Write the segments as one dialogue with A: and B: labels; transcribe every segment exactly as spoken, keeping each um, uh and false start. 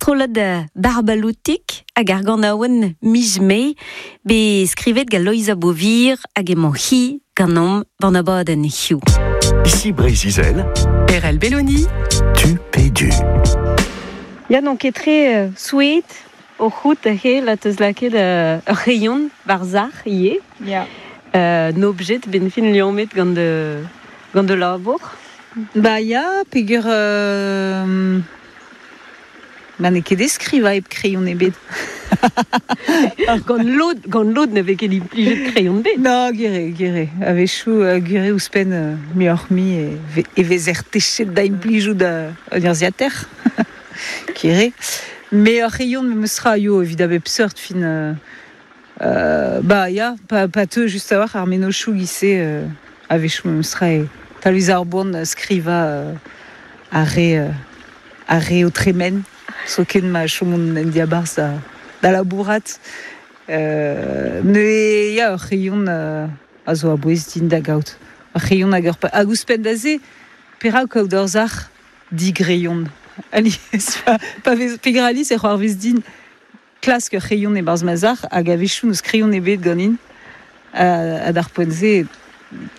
A: Strollad Barbaloutik hag ar ganaouenn miz Mae be skrivet gant Loeiza Beauvir hag emañ hi ganeomp ban abadenn hiziv.
B: Ici Breizh-Izel,
C: Erell Belloni,
B: tu pe du.
A: Ya n'on ket tre euh, souet o c'hout he la teus laket euh, ur c'hreion war zac'h ivez.
D: Ya.
A: Euh, n'objet ben fin liammet gant de, gant de labour.
D: Ba ya, peger... Euh, ba n'eo ket eskriva hep kreion ebet.
A: Gant lod, gant lod ne vez ket implijet kreion bet.
D: No, gere, gere. A-wechoù uh, gere ouzhpenn uh, muioc'h-mui e, ve, e vezer techet da implijout da un urzhiataer. Gere. Mais ur c'hreion me meus yo evit a bep seurt fin... Euh, euh, ba ya, pa, pa teu just a-walc'h ar mennozhioù giz-se euh, a-wechoù me meus tra e talvez ar boan skriva euh, ar re, euh, ar re o tremen. Zoken ma chomont en diabarzh da, da labourat. Euh, ne ya ur c'hreion euh, a zo a-bouez din da gaout. Ur c'hreion hag ur pa... Hag ouzhpenn da se, perak kaout ur zac'h digreion. Alies, pa, pa vez, peger alies e c'hoarvez din klask ur c'hreion e-barzh ma zac'h hag a-wechoù n'eus kreion ebet ganin. Uh, ha d'ar poent-se,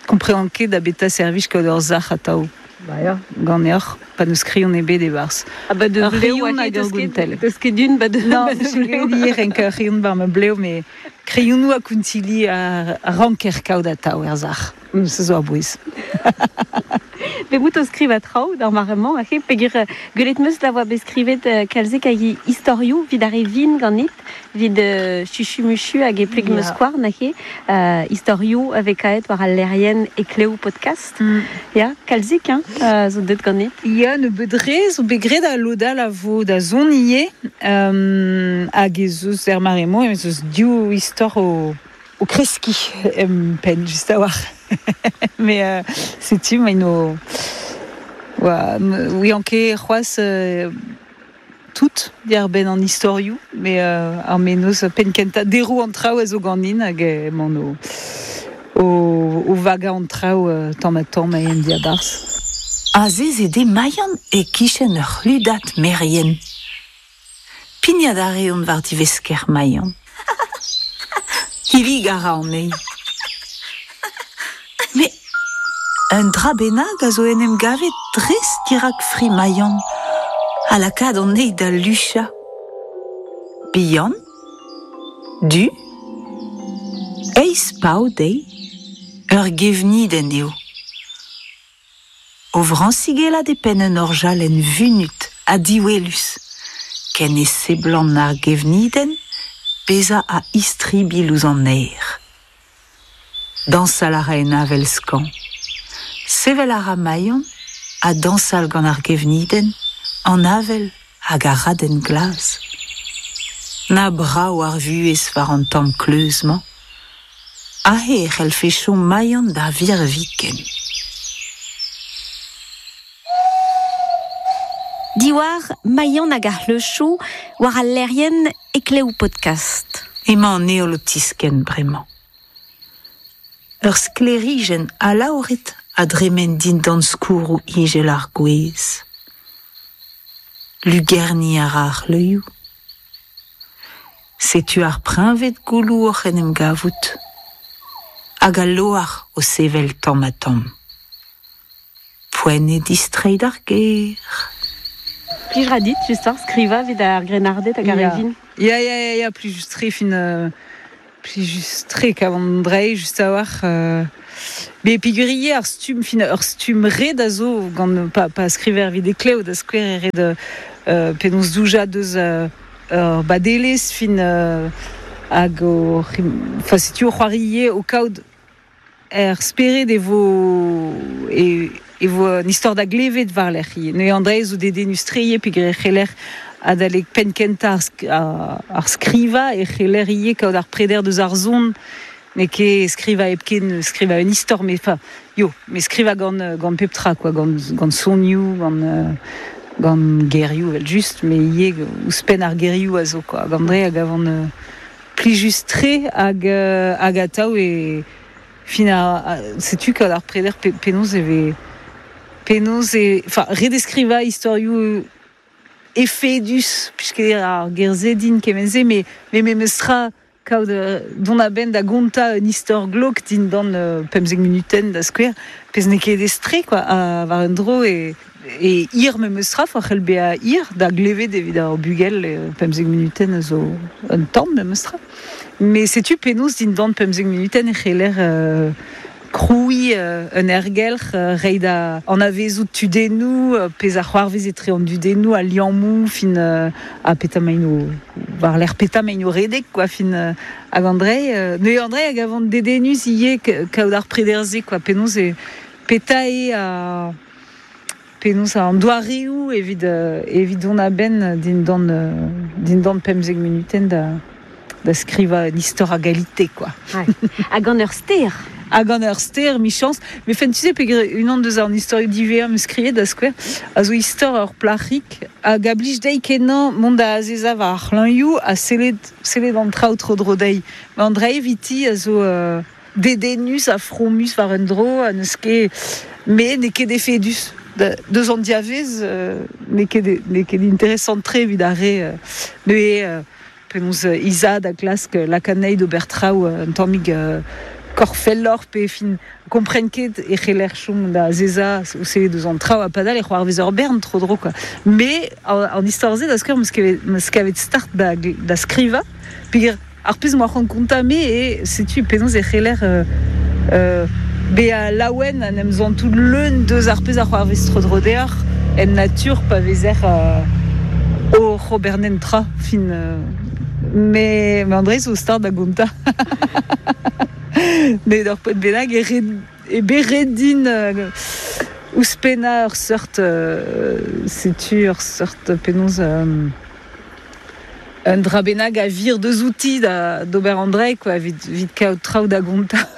D: komprenan ket da beta servij kaout ur zac'h atav.
A: Ba ya.
D: Ganeoc'h, pa n'eus kreion ebet e-barzh.
A: Ah ba de
D: Ur
A: bleo
D: c'hreion
A: hag
D: hag ur
A: deus ket,
D: gontell.
A: deus ket d'un, ba de,
D: Non,
A: ba de
D: je
A: bleo.
D: ket renk ur c'hreion war ma bleo, mais kreionoù a kountili a, a ranker kaout atav er zac'h. Mm, se zo a-bouez.
A: Be bout o skriva traoù d'ar mare-mañ, ake, peger gwelet meus da voa bet skrivet euh, kalzik hag istorioù vid ar e vin ganit, vid euh, chuchu-muchu hag e pleg
D: Ya.
A: meus skouarn, ake, euh, istorioù a vez kaet war al lerien e klev podcast.
D: Mm.
A: Ya, kalzik, hein, euh, zo deut ganit.
D: Ya, ne bedre, zo bet graet a lodal a vo da zon ivez, euh, hag ez eus er mare-mañ, ez eus div istor o, o kreskiñ em penn, just a-walc'h. Mais euh, setu, ma ino... Oa, oui, anke c'hoazh euh, tout diar benn an istorioù, mais euh, ar mennozh penn kentañ deroù an traoù a zo ganin hag emaon o, o, o vagañ an traoù euh, tamm ha tamm en diabarzh.
E: Azezet eo Maian e-kichen ur c'hludad merien. Pignat a reont war divesker Maian. Hillig a ra anezhi. Met un dra bennak a zo en em gavet dres dirak fri Maian, ha lakaat anezhi da luchañ. Bihan, du, eizh pav dezhi, ur gevnidenn eo. O vrañsigellat e penn un orjalenn vunut ha diwelus, ken e seblant ar gevnidenn bezañ a-istribilh ouzh an aer. Dañsal a ra en avel skañv. Sevel a ra Maian ha dañsal gant ar gevnidenn, an avel hag ar raden glas. Na brav ar vuhez war an tamm kleuz-mañ. Aze e c'hellfe chom Maian da virviken.
A: Diwar Maian hag ar c'hleuchoù war al lerien e klev podcast.
E: Emañ an heol o tiskenn bremañ. Ur sklêrijenn alaouret a dremen dindan skourroù ijel ar gwez. Lugerniñ a ra ar c'hleuzioù. Setu ar preñved gouloù oc'h en em gavout. Hag al loar o sevel tamm ha tamm. Poent eo distreiñ d'ar gêr.
A: Plij ra dit, just ar skriva evit ar grennarded hag ar
D: Ya.
A: evin.
D: Ya, ya, ya, ya, plij just tre fin... Euh, plij just tre kavan drei, just a-walc'h. Euh, be peogwir ar stumm fin ur stumm ret a zo gant pa, pa skriver evit e klev da skouer e ret euh, penaos doujañ deus euh, ur badelezh fin euh, hag o enfin setu o c'hoarie o kaout er spered e vo e, e vo un istor da glevet war lec'h ivez. Neuze an dra zo dedennus-tre peogwir e c'heller adalek penn kentañ ar, sk- ar, ar skrivañ e c'heller ivez kaout ar preder deus ar son n'eo ket skrivañ hepken skrivañ un istor, mais enfin, yo, mais skrivañ gant, gant pep tra, quoi, gant, gant sonioù, gant, euh, gant gerioù evel just, mais ivez ouzhpenn ar gerioù a zo, quoi. Gant dre hag avant euh, plijus-tre hag, euh, hag atav e fin a, a, setu kaout ar preder pe, penaos e vez penaos e enfin redeskrivañ istorioù efedus, puisque ar gerzedin kemenze, me, me me mestra kaout don a ben da gonta un istor glok din dan euh, pemzek minuten da skwer, pez ne ket estre, quoi, a war un dro e, e ir me mestra, fa c'hell bea ir, da glevet evit ar bugel e, pemzek minuten zo un tamm me mestra. Mais setu penaos din dan pemzek minuten e c'heller euh, kroui euh, un ergelc'h euh, rei da an avezout tudennoù, euh, pez ar c'hoarvez etre an dudennoù a liammou fin euh, a peta maino war l'air peta maino redek quoi fin euh, hag Andrei euh, ne Andrei hag avant dedenus ie kaout ar prederze quoi penaos e peta e a penaos an doareoù evit euh, evit on a ben din dan euh, din dan pemzek minuten da da skriva un istor a galite quoi.
A: Ouais. Hag an ur ster.
D: Hag an ur ster, michans. Me fen, tu sais, pegre unan deus an istor divea me skriet da skwer, a zo istor ur plac'hik, hag a blij dei kenañ mont da azeza war ar c'hlañioù ha sellet, sellet an traoù tro dro dei. Ma an dra eviti a zo euh, dedennus ha fromus war un dro, ha n'eus ket, me n'eo ket efedus. Da, deus an diavez, euh, n'eo ket, n'eo ket interesant tre evit ar re, euh, neuze, euh, penaos euh, Isa da klask lakanei d'ober traoù un tammig euh, korfellor pe fin kompren ket e c'heller chom da zeza o se deus an traoù a padal e c'hoarvez ur bern tro dro quoi. Me an, an istor-se da skwer meus kavet start da, da skriva peogwir ar pezh m'oa c'hoant kontañ me e setu penaos e c'heller euh, euh, bea laouen an em zantout leun deus ar pezh a c'hoarvez tro dro deoc'h en natur pa vezer euh, o c'hobernen tra fin euh, mais, mais André zo start da gontañ. Mais d'ur poent bennak e red, e beredin euh, ouzhpennañ ur seurt euh, setu ur seurt penaos euh, un dra bennak a vir deus outi da d'ober André quoi evit, evit kaout traoù da gontañ.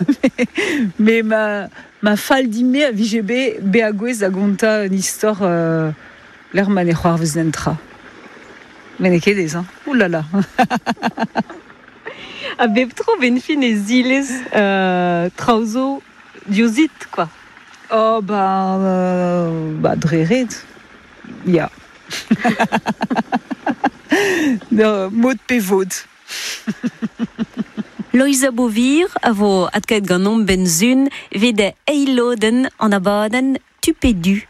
D: Mais ma, ma fall dime a vije be bezañ gouez da gontañ un istor euh, l'er ma ne c'hoarvez n'en tra. Mais n'eo ket aes, hein. Ouh là là.
A: A bep tro ben fin e zilez euh, traoù zo diouzit, quoi.
D: Oh, ben, euh, bah, dre ret. Ya. No, mod pe vod.
A: Loeiza Beauvir a vo adkaet ganeomp benzun evit eilodenn an abadenn Tupedu.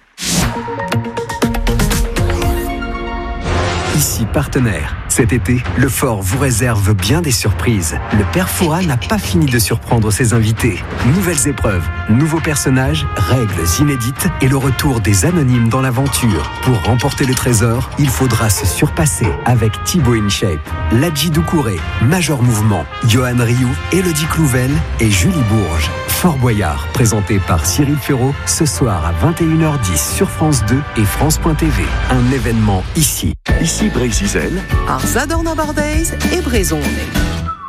B: Ici partenaire. Cet été, le fort vous réserve bien des surprises. Le père Fouras n'a pas fini de surprendre ses invités. Nouvelles épreuves, nouveaux personnages, règles inédites et le retour des anonymes dans l'aventure. Pour remporter le trésor, il faudra se surpasser avec Thibaut InShape, Ladji Doucouré, Major Mouvement, Johan Rioux, Élodie Clouvel et Julie Bourges. Fort Boyard, présenté par Cyril Ferraud, ce soir à vingt et une heures dix sur France deux et France point T V. Un événement ici.
C: Ici Brézizel,
F: Ar Zadorn Abardeiz e Brezhoneg.